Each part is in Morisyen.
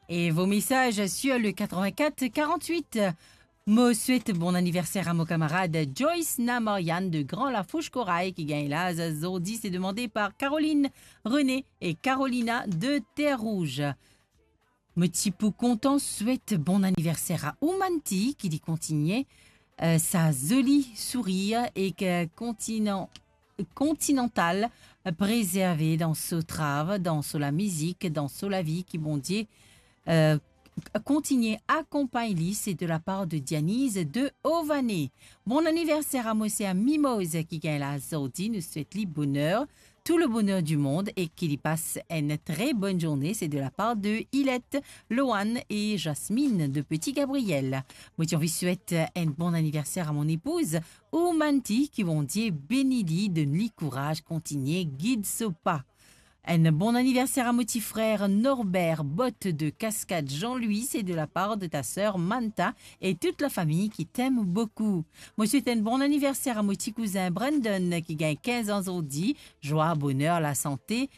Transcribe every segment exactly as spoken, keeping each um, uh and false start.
Et vos messages sur le quatre-vingt-quatre quarante-huit. Mo swet bon anniverser a mo kamarad Joyce Namarian de Gran Lafouch Koray ki gagn laz zordi, se demande par Caroline, René et Carolina de Terre Rouge. Mo ti pou kontan swet bon anniverser a Oumanti ki li kontigne, euh, sa zoli sourir e ki kontinan-, kontinantal, euh, prezerve dan so trav, dan so lamizik, dan so lavi, ki Bondie, euh, kontigne akonpagn li, se de la par de Dianiz de Ovane. Bon anniverser a mo ser Mimoz ki gagn laz zordi, nou swet li boner, tout le bonheur du monde e ki li pas enn tre bonn zourne, se de la par de Ilette, Loane e Jasmine de Petit Gabriel. Mo ti anvi swet enn bon anniverser a mon epouz, Oumanti, ki Bondie beni li, donn li kouraz, kontigne gid so pa. Enn bon anniverser a mo ti frer Norbert Bot de Cascade Jean-Louis, se de la par de ta ser Manta e tout la fami ki t'aime beaucoup. Mo swet enn bon anniverser a mo ti kouzin Brandon ki gagn kinz an zordi, zwa, boner, lasante,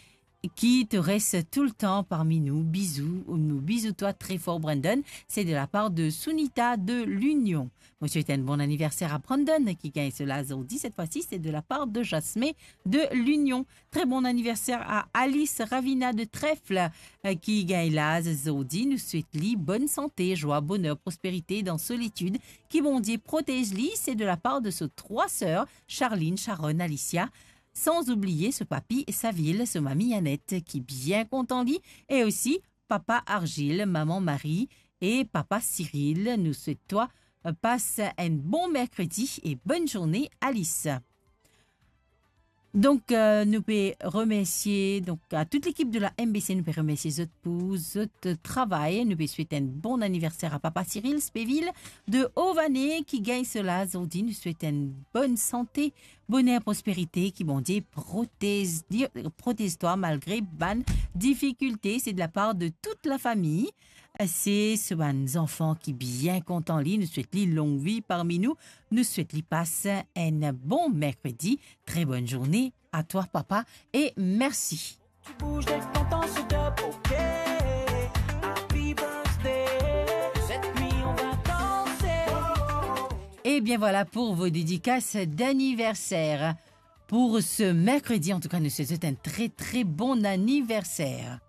ki to res toultan parmi nou. Bizou, nou bizou twa tre for Brandon, se de la par de Sunita de Linion. Mo swet enn bon anniverser a Brandon ki gagn so laz zordi, set fwa si se de la par de Jasme de Linion. Tre bon anniverser a Alice Ravina de Trèfle, euh, ki gagn laz zordi. Nou swet li bonn sante, zwa, boner, prosperite dan solitid. Ki Bondie protez li, se de la par de so trwa ser, Charline, Sharon, Alicia. San oubliye so papi Savil, so mami Annette, ki bien kontan li, e osi papa Argile, maman Marie e papa Cyril. Nou swet twa, euh, pas enn bon merkredi e bonn zourne, Alice. Donk, euh, nou pe remersie, donk, a tout lekip de la M B C, nou pe remersie zot pou zot travay. Nou pe swet enn bon anniverser a papa Cyril Speville de Ovane ki gagn so laz zordi. Nou swet enn bonn sante, boner, prosperite, ki Bondie protez li, protez twa malgre bann difikilte. Se de la par de tout la fami. Se so bann zanfan ki bien kontan li. Nou swet li long vi parmi nou. Nou swet li pas enn bon merkredi. Tre bonn zourne a twa, papa, e mersi. Tu bouges de ton temps sur deux, ok. Happy birthday. Cette nuit, on va danser. Et bien voilà pour vos dédicaces d'anniversaire. Pour ce mercredi, en tout cas, nous souhaitons un très, très bon anniversaire.